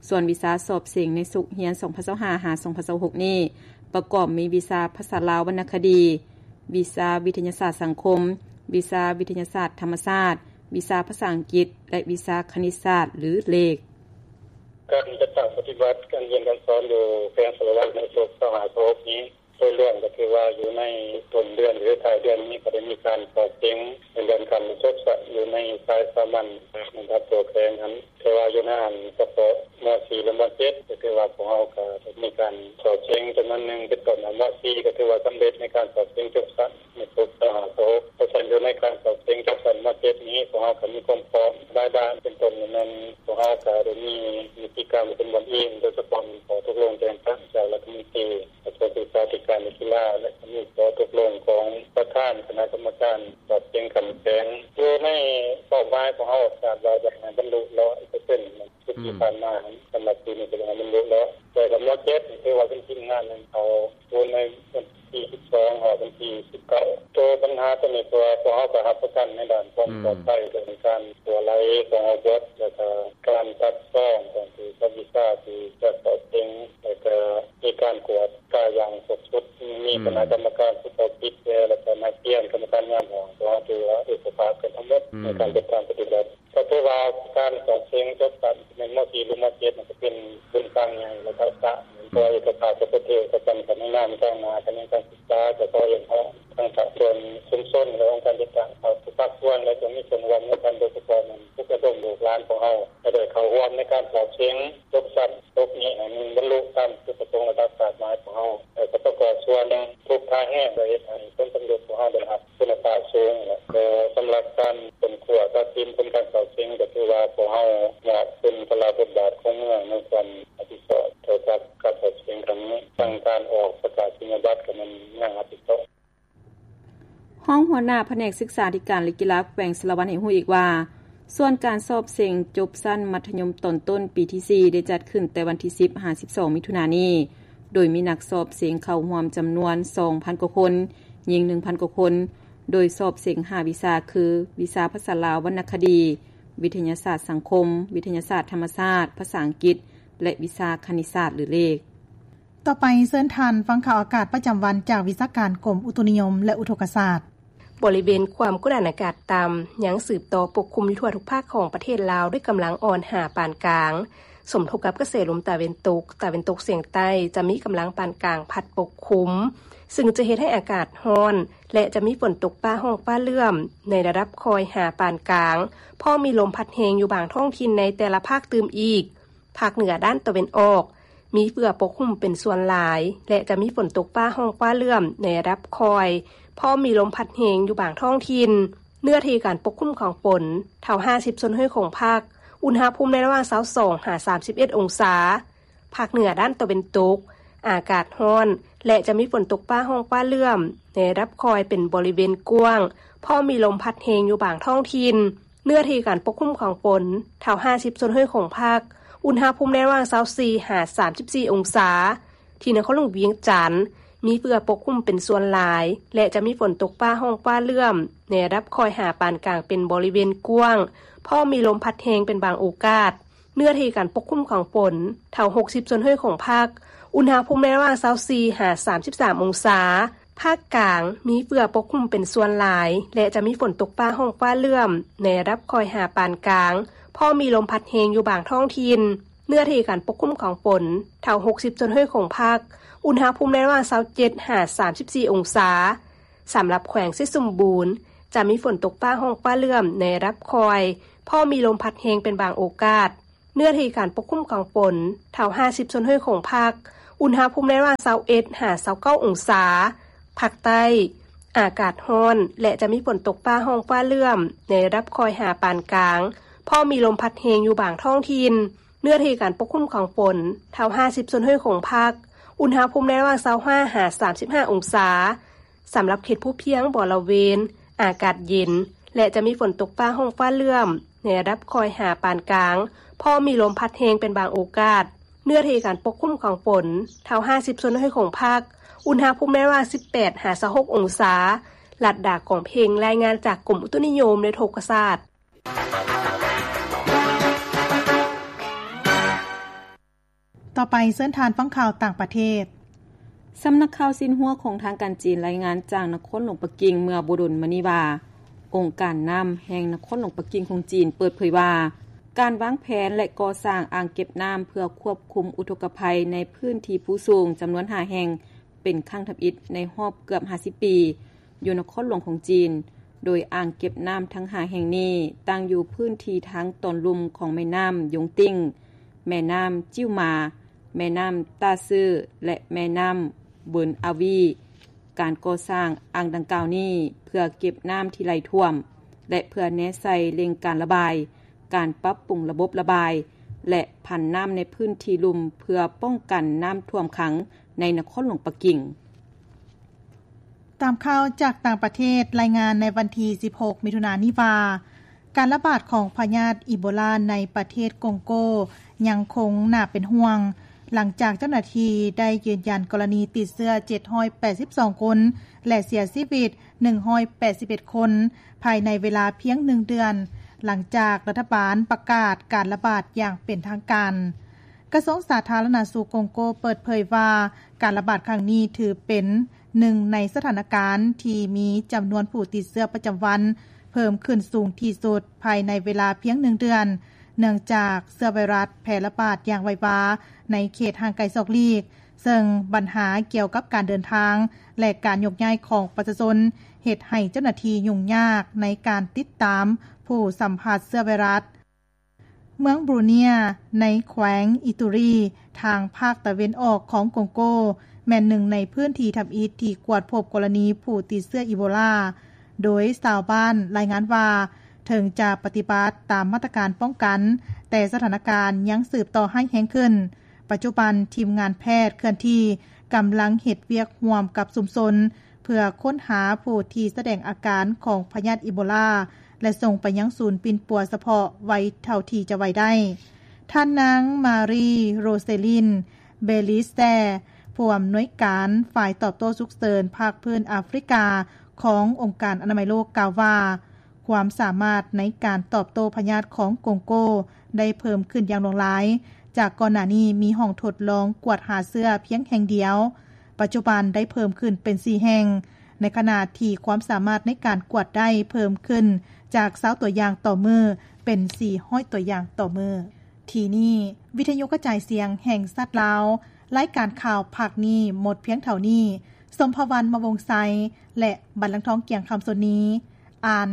ສ່ວນວິຊາສອບເສັງໃນສົກຮຽນສອງພັນຊາວຫ້າ ຫາ ສອງພັນຊາວຫົກນີ້ ປະກອບມີວິຊາພາສາລາວວັນນະຄະດີ, ວິຊາວິທະຍາສາດສັງຄົມ, ວິຊາວິທະຍາສາດທຳມະຊາດ, ວິຊາພາສາອັງກິດ ແລະ ວິຊາຄະນິດສາດ ຫຼື ເລກ. ການຈັດຕັ້ງປະຕິບັດການຮຽນການສອນຢູ່ແຂວງສາລະວັນໃນສົກຊາວຫ້າ ຊາວຫົກນີ້ ໂດຍລວມກໍຖືວ່າຢູ່ໃນຕົ້ນເດືອນ ຫຼື ທ້າຍເດືອນນີ້ ກໍໄດ້ມີການສອບເສັງໃນເລື່ອງການປະສົບສະຢູ່ໃນສາຍສາມັນໃນລະດັບທົ່ວແຂວງຫັ້ນ. ແຕ່ວ່າຢູ່ໃນອັນສະເພາະ ມ.ສີ່ ແລະ ມ.ເຈັດ ກໍຖືວ່າພວກເຮົາກໍໄດ້ມີການສອບເສັງຈຳນວນໜຶ່ງ ເປັນຕົ້ນ ມ.ສີ່ ກໍຖືວ່າສຳເລັດໃນການສອບເສັງຈົບຊັ້ນໃນສົກຊາວຫ້າ ຊາວຫົກ. ເພາະສະນັ້ນ ຢູ່ໃນການສອບເສັງຈົບຊັ້ນ ມ.ເຈັດ ນີ້ ພວກເຮົາກໍມີຄວາມພ້ອມຫຼາຍດ້ານ ເປັນຕົ້ນແມ່ນພວກເຮົາກໍໄດ້ມີນິຕິກຳເປັນບ່ອນອີງ ໂດຍສະເພາະແມ່ນຂໍ້ຕົກລົງແຕ່ງຕັ້ງຈາກລັດຖະມົນຕີ ກະຊວງສຶກສາທິການ ແລະ ກິລາ ແລະ ກໍມີຂໍ້ຕົກລົງຂອງປະທານຄະນະກຳມະການສອບເສັງຂັ້ນແຂວງ. ຢູ່ໃນເປົ້າໝາຍຂອງເຮົາ ຄາດວ່າຈະໃຫ້ບັນລຸຮ້ອຍເປີເຊັນ ຊຸດທີ່ຜ່ານມາຫັ້ນ ສຳລັບປີນີ້ກໍຢາກໃຫ້ມັນຫຼຸດແລ້ວ. ແຕ່ກໍ ມ.ເຈັດ ນີ້ ຖືວ່າເປັນທີມງານໜຶ່ງ ເຂົາຢູ່ໃນວັນທີສິບສອງ ຮອດວັນທີສິບເກົ້າ. ໂຕບັນຫາໂຕນີ້ ເພາະວ່າພວກເຮົາກໍຮັບປະກັນໃນດ້ານຄວາມປອດໄພ ເລື່ອງການຮົ່ວໄຫຼຂອງອາວຸດ ແລ້ວກໍການຕັດຊອງຂອງຜູ້ສອບວິຊາທີ່ຈະສອບເສັງ ແລ້ວກໍມີການກວດກາຢ່າງຄົບຊຸດ, ມີຄະນະກຳມະການຜູ້ສອບຜິດແດ່ ແລ້ວກໍນັກຮຽນ, ກຳມະການຍາມຫ້ອງ ພວກເຮົາຖືວ່າເອກະພາບກັນທັງໝົດໃນການຈັດຕັ້ງປະຕິບັດ. ກໍຖືວ່າການສອບເສັງຈົບຊັ້ນ ແມ່ນ ມ.ສີ່ ຫຼື ມ.ເຈັດ ນັ້ນ ກໍເປັນບຸນການໃຫຍ່ລະດັບຊາດ, ເພາະເອກະພາບຈະປະເທດ ກໍຈຳກັດໃນນາມທາງໜ້າຂະແໜງການສຶກສາ, ກໍຂໍຮຽກຮ້ອງທາງພາກສ່ວນຊຸມຊົນ ແລະ ອົງການຈັດຕັ້ງ ທຸກພາກສ່ວນ ແລະ ຈະມີສ່ວນຮ່ວມນຳກັນ, ໂດຍສະເພາະແມ່ນ ຝຶກອົບຮົມລູກຫຼານຂອງເຮົາ ຈະໄດ້ເຂົ້າຮ່ວມໃນການສອບເສັງຈົບຊັ້ນສົກນີ້ ໃຫ້ມັນບັນລຸຕາມຈຸດປະສົງລະດັບຄາດໝາຍຂອງເຮົາ, ແລະ ກໍປະກອບສ່ວນທຸກທ່າແຮງ ເພື່ອເຮັດໃຫ້ຜົນສຳເລັດຂອງເຮົາໄດ້ຮັບຄຸນນະພາບສູງ. ແລະ ສຳລັບການຄົ້ນຄວ້າຕັດສິນຜົນການສອບເສັງ ກໍຖືວ່າພວກເຮົາຍອມຮັບເປັນພາລະບົດບາດຂອງເມືອງໃນຄວາມຮັບຜິດຊອບຕໍ່ກັບການສອບເສັງຄັ້ງນີ້. ທັງການອອກປະກາດນີຍະບັດ ກໍແມ່ນເມືອງຮັບຜິດຊອບ. ຮອງຫົວໜ້າພະແນກສຶກສາທິການ ແລະ ກິລາແຂວງສາລະວັນໃຫ້ຮູ້ອີກວ່າ ສ່ວນການສອບເສັງຈົບຊັ້ນມັດທະຍົມຕອນຕົ້ນປີທີສີ່ ໄດ້ຈັດຂຶ້ນແຕ່ວັນທີສິບ ຫາ ສິບສອງ ມິຖຸນານີ້, ໂດຍມີນັກສອບເສັງເຂົ້າຮ່ວມຈຳນວນສອງພັນກວ່າຄົນ, ຍິງໜຶ່ງພັນກວ່າຄົນ, ໂດຍສອບເສັງຫ້າວິຊາຄື ວິຊາພາສາລາວວັນນະຄະດີ, ວິທະຍາສາດສັງຄົມ, ວິທະຍາສາດທຳມະຊາດ, ພາສາອັງກິດ ແລະ ວິຊາຄະນິດສາດ ຫຼື ເລກ. ຕໍ່ໄປເຊີນທ່ານຟັງຂ່າວອາກາດປະຈຳວັນຈາກວິຊາການກົມອຸຕຸນິຍົມ ແລະ ອຸທົກກະສາດ. ບໍລິເວນຄວາມກົດອາກາດຕ່ຳຍັງສືບຕໍ່ປົກຄຸມຢູ່ທົ່ວທຸກພາກຂອງປະເທດລາວດ້ວຍກຳລັງອ່ອນຫາປານກາງ, ສົມທົບກັບກະແສລົມຕາເວັນຕົກ, ຕາເວັນຕົກສຽງໃຕ້ ຈະມີກຳລັງປານກາງພັດປົກຄຸມ, ຊຶ່ງຈະເຮັດໃຫ້ອາກາດຮ້ອນ ແລະ ຈະມີຝົນຕົກຟ້າຮ້ອງຟ້າເຫຼື້ອມໃນລະດັບຄ່ອຍຫາປານກາງ, ພ້ອມມີລົມພັດແຮງຢູ່ບາງທ້ອງຖິ່ນໃນແຕ່ລະພາກຕື່ມອີກ. ພາກເໜືອດ້ານຕາເວັນອອກ ມີເຝືອປົກຄຸມເປັນສ່ວນຫຼາຍ ແລະ ຈະມີຝົນຕົກຟ້າຮ້ອງຟ້າເຫຼື້ອມໃນລະດັບຄ່ອຍ, ພ້ອມມີລົມພັດແຮງຢູ່ບາງທ້ອງຖິ່ນ. ເນື້ອທີ່ການປົກຄຸມຂອງຝົນ ເທົ່າຫ້າສິບສ່ວນຮ້ອຍຂອງພາກ, ອຸນຫະພູມໃນລະຫວ່າງຊາວສອງຫາສາມສິບເອັດອົງສາ. ພາກເໜືອດ້ານຕາເວັນຕົກ ອາກາດຮ້ອນ ແລະ ຈະມີຝົນຕົກຟ້າຮ້ອງຟ້າເຫຼື້ອມໃນລະດັບຄ່ອຍເປັນບໍລິເວນກວ້າງ, ພ້ອມມີລົມພັດແຮງຢູ່ບາງທ້ອງຖິ່ນ. ເນື້ອທີ່ການປົກຄຸມຂອງຝົນ ເທົ່າຫ້າສິບສ່ວນຮ້ອຍຂອງພາກ, ອຸນຫະພູມໃນລະຫວ່າງຊາວສີ່ຫາສາມສິບສີ່ອົງສາ. ທີ່ນະຄອນຫຼວງວຽງຈັນ ມີເຝືອປົກຄຸມເປັນສ່ວນຫຼາຍ ແລະ ຈະມີຝົນຕົກຟ້າຮ້ອງຟ້າເຫຼື້ອມໃນລະດັບຄ່ອຍຫາປານກາງເປັນບໍລິເວນກວ້າງ, ພ້ອມມີລົມພັດແຮງເປັນບາງໂອກາດ. ເນື້ອທີ່ການປົກຄຸມຂອງຝົນ ເທົ່າຫົກສິບສ່ວນຮ້ອຍຂອງພາກ, ອຸນຫະພູມໃນລະຫວ່າງຊາວສີ່ຫາສາມສິບສາມອົງສາ. ພາກກາງ ມີເຝືອປົກຄຸມເປັນສ່ວນຫຼາຍ ແລະ ຈະມີຝົນຕົກຟ້າຮ້ອງຟ້າເຫຼື້ອມໃນລະດັບຄ່ອຍຫາປານກາງ, ພໍມີລົມພັດແຮງຢູ່ບາງທ້ອງຖິ່ນ. ເນື້ອທີ່ການປົກຄຸມຂອງຝົນ ເທົ່າຫົກສິບສ່ວນຮ້ອຍຂອງພາກ, ອຸນຫະພູມໃນລະຫວ່າງຊາວເຈັດຫາສາມສິບສີ່ອົງສາ. ສຳລັບແຂວງໄຊສົມບູນ ຈະມີຝົນຕົກຟ້າຮ້ອງຟ້າເຫຼື້ອມໃນລະດັບຄ່ອຍ, ພໍມີລົມພັດແຮງເປັນບາງໂອກາດ. ເນື້ອທີ່ການປົກຄຸມຂອງຝົນ ເທົ່າຫ້າສິບສ່ວນຮ້ອຍຂອງພາກ, ອຸນຫະພູມໃນລະຫວ່າງຊາວເອັດຫາຊາວເກົ້າອົງສາ. ພາກໃຕ້ ອາກາດຮ້ອນ ແລະ ຈະມີຝົນຕົກຟ້າຮ້ອງຟ້າເຫຼື້ອມ ໃນລະດັບຄ່ອຍຫາປານກາງ, ພ້ອມມີລົມພັດແຮງຢູ່ບາງທ້ອງຖິ່ນ. ເນື້ອທີ່ການປົກຄຸມຂອງຝົນ ເທົ່າຫ້າສິບສ່ວນຮ້ອຍຂອງພາກ, ອຸນຫະພູມໃນລະຫວ່າງຊາວຫ້າຫາສາມສິບຫ້າອົງສາ. ສຳລັບເຂດພູພຽງບໍລະເວນ ອາກາດເຢັນ ແລະ ຈະມີຝົນຕົກຟ້າຮ້ອງຟ້າເຫຼື້ອມ ໃນລະດັບຄ່ອຍຫາປານກາງ, ພ້ອມມີລົມພັດແຮງເປັນບາງໂອກາດ. ເນື້ອທີ່ການປົກຄຸມຂອງຝົນ ເທົ່າຫ້າສິບສ່ວນຮ້ອຍຂອງພາກ, ອຸນຫະພູມໃນລະຫວ່າງສິບແປດຫາຊາວຫົກອົງສາ. ລັດດາ ກອງເພັງ ລາຍງານຈາກກົມອຸຕຸນິຍົມ ແລະ ອຸທົກກະສາດ. ຕໍ່ໄປເຊີນທ່ານຟັງຂ່າວຕ່າງປະເທດ. ສຳນັກຂ່າວຊິນຫົວຂອງທາງການຈີນລາຍງານຈາກນະຄອນຫຼວງປັກກິ່ງເມື່ອບໍ່ດົນມານີ້ວ່າ, ອົງການນ້ຳແຫ່ງນະຄອນຫຼວງປັກກິ່ງຂອງຈີນເປີດເຜີຍວ່າ, ການວາງແຜນ ແລະ ກໍ່ສ້າງອ່າງເກັບນ້ຳເພື່ອຄວບຄຸມອຸທົກກະໄພໃນພື້ນທີ່ພູສູງຈຳນວນຫ້າແຫ່ງ ເປັນຄັ້ງທຳອິດໃນຮອບເກືອບຫ້າສິບປີ ຢູ່ນະຄອນຫຼວງຂອງຈີນ, ໂດຍອ່າງເກັບນ້ຳທັງຫ້າແຫ່ງນີ້ຕັ້ງຢູ່ພື້ນທີ່ທາງຕອນລຸ່ມຂອງແມ່ນ້ຳຢົງຕິ່ງ, ແມ່ນ້ຳຈິ້ວໝາ, ແມ່ນ້ຳຕ້າຊື່ ແລະ ແມ່ນ້ຳເບີນອາວີ. ການກໍ່ສ້າງອ່າງດັ່ງກ່າວນີ້ເພື່ອເກັບນ້ຳທີ່ໄຫຼຖ້ວມ ແລະ ເພື່ອແນໃສ່ເລັ່ງການລະບາຍ, ການປັບປຸງລະບົບລະບາຍ ແລະ ພັນນ້ຳໃນພື້ນທີ່ລຸ່ມ ເພື່ອປ້ອງກັນນ້ຳຖ້ວມຂັງໃນນະຄອນຫຼວງປັກກິ່ງ. ຕາມຂ່າວຈາກຕ່າງປະເທດລາຍງານໃນວັນທີສິບຫົກ ມິຖຸນານີ້ວ່າ, ການລະບາດຂອງພະຍາດອີໂບລາໃນປະເທດກົງໂກຍັງຄົງໜ້າເປັນຫ່ວງ, ຫຼັງຈາກເຈົ້າໜ້າທີ່ໄດ້ຢືນຢັນກໍລະນີຕິດເຊື້ອເຈັດຮ້ອຍແປດສິບສອງຄົນ ແລະ ເສຍຊີວິດໜຶ່ງຮ້ອຍແປດສິບເອັດຄົນ ພາຍໃນເວລາພຽງໜຶ່ງເດືອນ, ຫຼັງຈາກລັດຖະບານປະກາດການລະບາດຢ່າງເປັນທາງການ. ກະຊວງສາທາລະນະສຸກກົງໂກເປີດເຜີຍວ່າ, ການລະບາດຄັ້ງນີ້ຖືເປັນໜຶ່ງໃນສະຖານະການທີ່ມີຈຳນວນຜູ້ຕິດເຊື້ອປະຈຳວັນເພີ່ມຂຶ້ນສູງທີ່ສຸດພາຍໃນເວລາພຽງໜຶ່ງເດືອນ, ເນື່ອງຈາກເຊື້ອໄວຣັສແຜ່ລະບາດຢ່າງໄວວາໃນເຂດຫ່າງໄກສອກຫຼີກ, ເຊິ່ງບັນຫາກ່ຽວກັບການເດີນທາງ ແລະ ການຍົກຍ້າຍຂອງປະຊາຊົນ ເຮັດໃຫ້ເຈົ້າໜ້າທີ່ຫຍຸ້ງຍາກໃນການຕິດຕາມຜູ້ສຳຜັດເຊື້ອໄວຣັສ. ເມືອງບຣູເນຍ ໃນແຂວງອິຕູຣີ ທາງພາກຕາເວັນອອກຂອງກົງໂກ ແມ່ນໜຶ່ງໃນພື້ນທີ່ທຳອິດທີ່ກວດພົບກໍລະນີຜູ້ຕິດເຊື້ອອີໂບລາ, ໂດຍຊາວບ້ານລາຍງານວ່າ ເຖິງຈະປະຕິບັດຕາມມາດຕະການປ້ອງກັນ, ແຕ່ສະຖານະການຍັງສືບຕໍ່ຮ້າຍແຮງຂຶ້ນ. ປັດຈຸບັນ, ທີມງານແພດເຄື່ອນທີ່ກຳລັງເຮັດວຽກຮ່ວມກັບຊຸມຊົນ ເພື່ອຄົ້ນຫາຜູ້ທີ່ສະແດງອາການຂອງພະຍາດອີໂບລາ ແລະ ສົ່ງໄປຍັງສູນປິ່ນປົວສະເພາະໄວເທົ່າທີ່ຈະໄວໄດ້. ທ່ານນາງ ມາຣີ ໂຣເຊລິນ ເບລິສແຕ ຜູ້ອຳນວຍການຝ່າຍຕອບໂຕ້ສຸກເສີນພາກພື້ນອາຟຣິກາຂອງອົງການອະນາໄມໂລກ ກ່າວວ່າ, ຄວາມສາມາດໃນການຕອບໂຕ້ພະຍາດຂອງກົງໂກໄດ້ເພີ່ມຂຶ້ນຢ່າງຫຼວງຫຼາຍ, ຈາກກ່ອນໜ້ານີ້ມີຫ້ອງທົດລອງກວດຫາເຊື້ອພຽງແຫ່ງດຽວ, ປັດຈຸບັນໄດ້ເພີ່ມຂຶ້ນເປັນສີ່ແຫ່ງ, ໃນຂະນະທີ່ຄວາມສາມາດໃນການກວດໄດ້ເພີ່ມຂຶ້ນຈາກຊາວຕົວຢ່າງຕໍ່ມື້ເປັນສີ່ຮ້ອຍຕົວຢ່າງຕໍ່ມື້. ທີ່ນີ້ ວິທະຍຸກະຈາຍສຽງແຫ່ງຊາດລາວ, ລາຍການຂ່າວພາກນີ້ໝົດພຽງເທົ່ານີ້. ສົມພະວັນ ມະວົງໄຊ ແລະ ບັນລັງທອງ ກຽງຄຳ ສົນນີ ອ່ານ.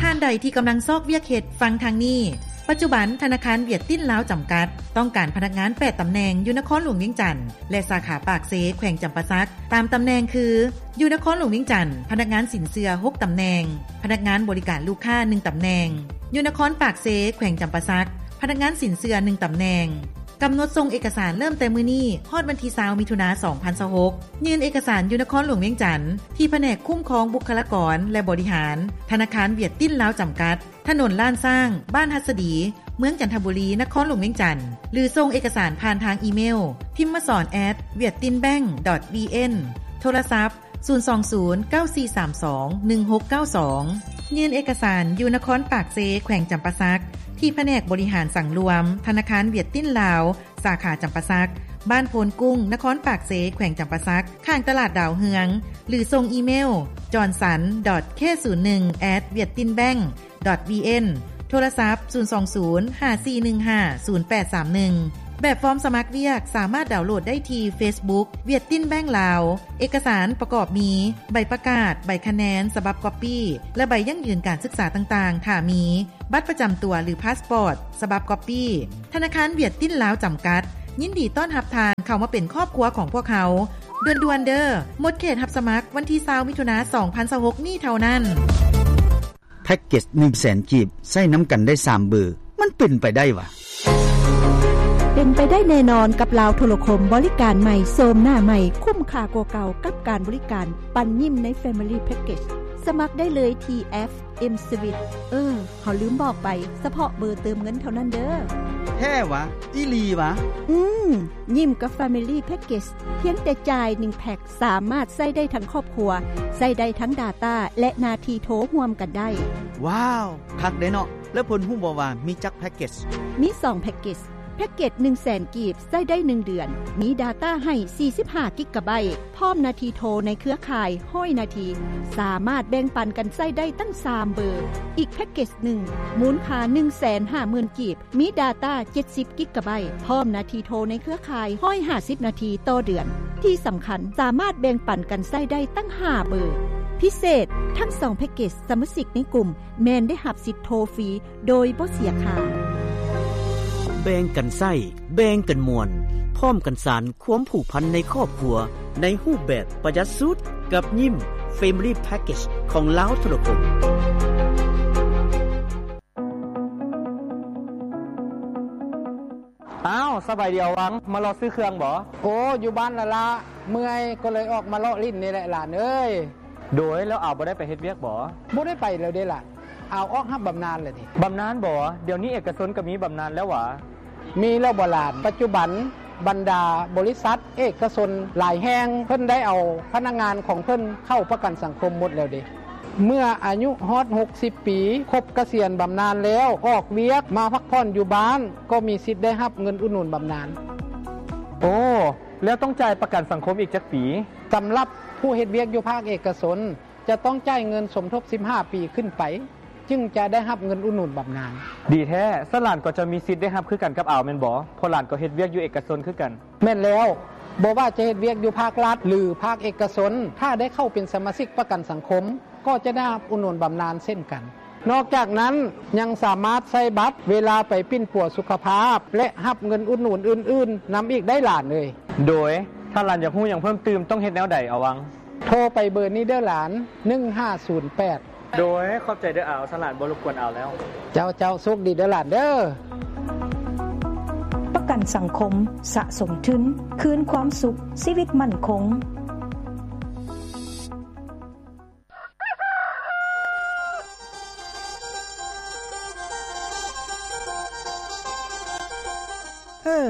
ທ່ານໃດທີ່ກຳລັງຊອກວຽກເຮັດ, ຟັງທາງນີ້. ປັດຈຸບັນ, ທະນາຄານຫວຽດຕິນລາວຈຳກັດ ຕ້ອງການພະນັກງານແປດຕຳແໜ່ງ ຢູ່ນະຄອນຫຼວງວຽງຈັນ ແລະ ສາຂາປາກເຊ ແຂວງຈຳປາສັກ. ຕາມຕຳແໜ່ງຄື, ຢູ່ນະຄອນຫຼວງວຽງຈັນ, ພະນັກງານສິນເຊື່ອຫົກຕຳແໜ່ງ, ພະນັກງານບໍລິການລູກຄ້າໜຶ່ງຕຳແໜ່ງ. ຢູ່ນະຄອນປາກເຊ ແຂວງຈຳປາສັກ, ພະນັກງານສິນເຊື່ອໜຶ່ງຕຳແໜ່ງ. ກຳນົດສົ່ງເອກະສານເລີ່ມແຕ່ມື້ນີ້ ຮອດວັນທີຊາວ ມິຖຸນາ ສອງພັນຊາວຫົກ. ຍື່ນເອກະສານຢູ່ນະຄອນຫຼວງວຽງຈັນ ທີ່ພະແນກຄຸ້ມຄອງບຸກຄະລາກອນ ແລະ ບໍລິຫານ ທະນາຄານຫວຽດຕິນລາວຈຳກັດ, ຖະໜົນລ້ານຊ້າງ, ບ້ານຫັດສະດີ, ເມືອງຈັນທະບູລີ, ນະຄອນຫຼວງວຽງຈັນ ຫຼື ສົ່ງເອກະສານຜ່ານທາງອີເມວ timason at viettinbank dot vn, ໂທລະສັບ ສູນສອງສູນ ເກົ້າສີ່ສາມສອງ ໜຶ່ງຫົກເກົ້າສອງ. ຍື່ນເອກະສານຢູ່ນະຄອນປາກເຊ ແຂວງຈຳປາສັກ ທີ່ພະແນກບໍລິຫານສັງລວມ ທະນາຄານຫວຽດຕິນລາວ ສາຂາຈຳປາສັກ, ບ້ານໂພນກຸ້ງ, ນະຄອນປາກເຊ, ແຂວງຈຳປາສັກ, ຂ້າງຕະຫຼາດດາວເຮືອງ ຫຼື ສົ່ງອີເມວ johnson dot k ສູນໜຶ່ງ at viettinbank dot vn, ໂທລະສັບ ສູນສອງສູນ ຫ້າສີ່ໜຶ່ງຫ້າ ສູນແປດສາມໜຶ່ງ. ແບບຟອມສະໝັກວຽກສາມາດດາວໂຫຼດໄດ້ທີ່ເຟສບຸກ ຫວຽດຕິນແບັ້ງລາວ. ເອກະສານປະກອບມີ ໃບປະກາດ, ໃບຄະແນນສະບັບກັອບປີ້ ແລະ ໃບຢັ້ງຢືນການສຶກສາຕ່າງໆ ຖ້າມີ, ບັດປະຈຳຕົວ ຫຼື ພາສປອດສະບັບກັອບປີ້. ທະນາຄານຫວຽດຕິນລາວຈຳກັດ ຍິນດີຕ້ອນຮັບທ່ານເຂົ້າມາເປັນຄອບຄົວຂອງພວກເຮົາ. ດ່ວນໆເດີ້ ໝົດເຂດຮັບສະໝັກວັນທີຊາວ ມິຖຸນາ ສອງພັນຊາວຫົກນີ້ເທົ່ານັ້ນ. ແພັກເກັດໜຶ່ງແສນກີບ ໃຊ້ນຳກັນໄດ້ສາມເບີ ມັນເປັນໄປໄດ້ຫວາ? ເປັນໄປໄດ້ແນ່ນອນກັບລາວໂທລະຄົມ ບໍລິການໃໝ່ ໂສມໜ້າໃໝ່ ຄຸ້ມຄ່າກວ່າເກົ່າກັບການບໍລິການປັນຍິ້ມໃນ Family Package. ສະໝັກໄດ້ເລີຍທີ່ແອັບ M-Swiss. ເອີ ເຮົາລືມບອກໄປ, ສະເພາະເບີເຕີມເງິນເທົ່ານັ້ນເດີ້. ແທ້ຫວາ? ອີ່ຫຼີຫວາ? ອືມ, ຍິ້ມກັບ Family Package ພຽງແຕ່ຈ່າຍໜຶ່ງແພັກ ສາມາດໃຊ້ໄດ້ທັງຄອບຄົວ, ໃຊ້ໄດ້ທັງ data ແລະ ໜ້າທີ່ໂທຮ່ວມກັນໄດ້. ວ້າວ, ຄັກເດ້ເນາະ. ແລ້ວເພິ່ນຮູ້ບໍ່ວ່າມີຈັກແພັກເກັດ? ມີສອງແພັກເກັດ. ແພັກເກັດໜຶ່ງແສນກີບ ໃຊ້ໄດ້ໜຶ່ງເດືອນ, ມີ data ໃຫ້ສີ່ສິບຫ້າກິກກາໄບ, ພ້ອມໜ້າທີ່ໂທໃນເຄືອຂ່າຍຮ້ອຍນາທີ, ສາມາດແບ່ງປັນກັນໃຊ້ໄດ້ຕັ້ງສາມເບີ. ອີກແພັກເກັດໜຶ່ງ ມູນຄ່າໜຶ່ງແສນຫ້າໝື່ນກີບ, ມີ data ເຈັດສິບກິກກາໄບ, ພ້ອມໜ້າທີ່ໂທໃນເຄືອຂ່າຍຮ້ອຍຫ້າສິບນາທີຕໍ່ເດືອນ. ທີ່ສຳຄັນ, ສາມາດແບ່ງປັນກັນໃຊ້ໄດ້ຕັ້ງຫ້າເບີ. ພິເສດ, ທັງສອງແພັກເກັດສະມາຊິກໃນກຸ່ມແມ່ນໄດ້ຮັບສິດໂທຟຣີໂດຍບໍ່ເສຍຄ່າ. ແບ່ງກັນໃຊ້, ແບ່ງກັນມ່ວນ, ພ້ອມກັນສານຄວາມຜູກພັນໃນຄອບຄົວ ໃນຮູບແບບປະຢັດສຸດ ກັບຍິ້ມ Family Package ຂອງລາວໂທລະຄົມ. ອ້າວ, ສະບາຍດີອາວັງ, ມາເລາະຊື້ເຄື່ອງບໍ? ໂອ້, ຢູ່ບ້ານລະລະ, ເມື່ອຍກໍເລີຍອອກມາເລາະຫຼິ້ນນີ້ແຫຼະຫຼານເອີຍ. ໂດຍ, ແລ້ວອາວບໍ່ໄດ້ໄປເຮັດວຽກບໍ? ບໍ່ໄດ້ໄປແລ້ວເດ້ຫຼານ, ອາວອອກຮັບບຳນານແລ້ວເດ້. ບຳນານບໍ? ດຽວນີ້ເອກະຊົນກໍມີບຳນານແລ້ວຫວາ? ມີແລ້ວບໍຫຼານ? ປັດຈຸບັນບັນດາບໍລິສັດເອກະຊົນຫຼາຍແຫ່ງ ເພິ່ນໄດ້ເອົາພະນັກງານຂອງເພິ່ນເຂົ້າປະກັນສັງຄົມໝົດແລ້ວເດ້. ເມື່ອອາຍຸຮອດຫົກສິບປີ ຄົບກະສຽນບຳນານແລ້ວ ອອກວຽກມາພັກຜ່ອນຢູ່ບ້ານ ກໍມີສິດໄດ້ຮັບເງິນອຸດໜູນບຳນານ. ໂອ້, ແລ້ວຕ້ອງຈ່າຍປະກັນສັງຄົມອີກຈັກປີ? ສຳລັບຜູ້ເຮັດວຽກຢູ່ພາກເອກະຊົນ ຈະຕ້ອງຈ່າຍເງິນສົມທົບສິບຫ້າປີຂຶ້ນໄປ ຈຶ່ງຈະໄດ້ຮັບເງິນອຸດໜູນບຳນານ. ດີແທ້, ສະນັ້ນຫຼານກໍຈະມີສິດໄດ້ຮັບຄືກັນກັບອາວແມ່ນບໍ່? ເພາະຫຼານກໍເຮັດວຽກຢູ່ເອກະຊົນຄືກັນ. ແມ່ນແລ້ວ, ບໍ່ວ່າຈະເຮັດວຽກຢູ່ພາກລັດ ຫຼື ພາກເອກະຊົນ, ຖ້າໄດ້ເຂົ້າເປັນສະມາຊິກປະກັນສັງຄົມ, ກໍຈະໄດ້ຮັບອຸດໜູນບຳນານເຊັ່ນກັນ. ນອກຈາກນັ້ນ, ຍັງສາມາດໃຊ້ບັດເວລາໄປປິ່ນປົວສຸຂະພາບ ແລະ ຮັບເງິນອຸດໜູນອື່ນໆນຳອີກໄດ້ຫຼານເອີຍ. ໂດຍ, ຖ້າຫຼານຢາກຮູ້ຫຍັງເພີ່ມຕື່ມ, ຕ້ອງເຮັດແນວໃດ, ອາວັງ? ໂທໄປເບີນີ້ເດີ້ຫຼານ, ໜຶ່ງຫ້າສູນແປດ. ໂດຍ, ຂອບໃຈເດີ້ອາວ, ສະຫຼານບໍ່ລົບກວນອາວແລ້ວ. ເຈົ້າ, ເຈົ້າ, ໂຊກດີເດີ້ຫຼານເດີ້. ປະກັນສັງຄົມ, ສະສົມທຶນ, ຄືນຄວາມສຸກ, ຊີວິດໝັ້ນຄົງ. ເອີ,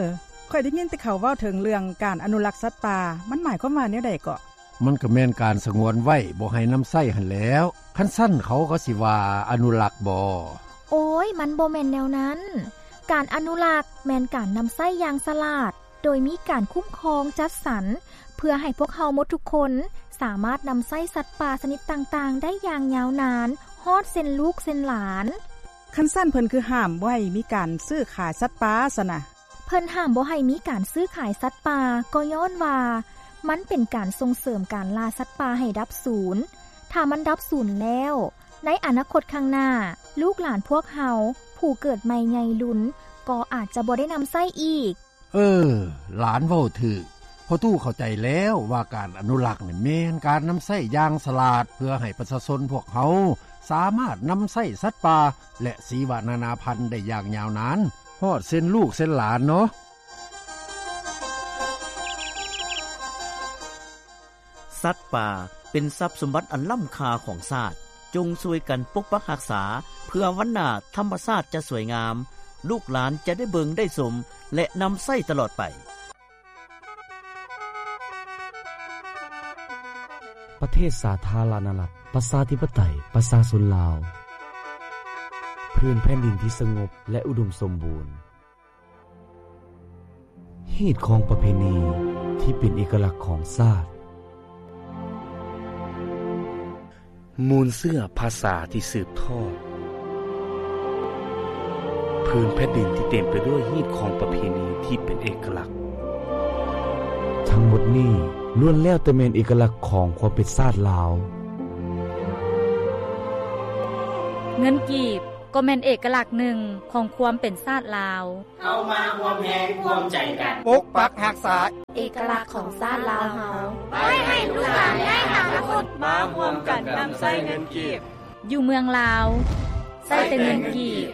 ຂ້ອຍໄດ້ຍິນແຕ່ເຂົາເວົ້າເຖິງເລື່ອງການອະນຸລັກສັດປ່າ, ມັນໝາຍຄວາມວ່າແນວໃດເກາະ? ມັນກໍແມ່ນການສະຫງວນໄວ້ ບໍ່ໃຫ້ນຳໃຊ້ຫັ້ນແຫຼ້ວ. ຄັນຊັ້ນເຂົາກໍຊິວ່າອະນຸລັກບໍ? ໂອ້ຍ, ມັນບໍ່ແມ່ນແນວນັ້ນ. ການອະນຸລັກແມ່ນການນຳໃຊ້ຢ່າງສະຫຼາດ, ໂດຍມີການຄຸ້ມຄອງຈັດສັນ ເພື່ອໃຫ້ພວກເຮົາໝົດທຸກຄົນສາມາດນຳໃຊ້ສັດປ່າຊະນິດຕ່າງໆໄດ້ຢ່າງຍາວນານ, ຮອດເຊັ່ນລູກເຊັ່ນຫຼານ. ຄັນຊັ້ນເພິ່ນຄືຫ້າມບໍ່ໃຫ້ມີການຊື້ຂາຍສັດປ່າຊັ້ນນະ? ເພິ່ນຫ້າມບໍ່ໃຫ້ມີການຊື້ຂາຍສັດປ່າ ກໍຍ້ອນວ່າມັນເປັນການສົ່ງເສີມການລ່າສັດປ່າໃຫ້ດັບສູນ. ຖ້າມັນດັບສູນແລ້ວ, ໃນອະນາຄົດຂ້າງໜ້າ, ລູກຫຼານພວກເຮົາຜູ້ເກີດໃໝ່ໃຫຍ່ລຸນ ກໍອາດຈະບໍ່ໄດ້ນຳໃຊ້ອີກ. ເອີ, ຫຼານເວົ້າຖືກ. ພໍ່ຕູ້ເຂົ້າໃຈແລ້ວວ່າການອະນຸລັກນີ້ແມ່ນການນຳໃຊ້ຢ່າງສະຫຼາດ ເພື່ອໃຫ້ປະຊາຊົນພວກເຮົາສາມາດນຳໃຊ້ສັດປ່າ ແລະ ຊີວະນານາພັນໄດ້ຢ່າງຍາວນານ ຮອດເຊັ່ນລູກເຊັ່ນຫຼານເນາະ. ສັດປ່າເປັນຊັບສົມບັດອັນລ້ຳຄ່າຂອງຊາດ. ຈົ່ງຊ່ວຍກັນປົກປັກຮັກສາ ເພື່ອວັນໜ້າທຳມະຊາດຈະສວຍງາມ, ລູກຫຼານຈະໄດ້ເບິ່ງໄດ້ຊົມ ແລະ ນຳໃຊ້ຕະຫຼອດໄປ. ປະເທດສາທາລະນະລັດ ປະຊາທິປະໄຕ ປະຊາຊົນລາວ, ພື້ນແຜ່ນດິນທີ່ສະຫງົບ ແລະ ອຸດົມສົມບູນ. ຮີດຄອງປະເພນີທີ່ເປັນເອກະລັກຂອງຊາດ. ມູນເຊື້ອພາສາທີ່ສືບທອດ. ເຜ ພື້ນແຜ່ນດິນທີ່ເຕັມໄປດ້ວຍຮີດຄອງປະເພນີທີ່ເປັນເອກະລັກ. ທັງໝົດນີ້ລ້ວນແລ້ວແຕ່ແມ່ນເອກະລັກຂອງຄວາມເປັນຊາດລາວ. ເງິນກີບກໍແມ່ນເອກະລັກໜຶ່ງຂອງຄວາມເປັນຊາດລາວ. ເຮົາມາຮ່ວມແຮງຮ່ວມໃຈກັນ ປົກປັກຮັກສາເອກະລັກຂອງຊາດລາວເຮົາ ໄວ້ໃຫ້ລູກຫຼານໃນອະນາຄົດ. ມາຮ່ວມກັນນຳໃຊ້ເງິນກີບ. ຢູ່ເມືອງລາວ ໃຊ້ແຕ່ເງິນກີບ.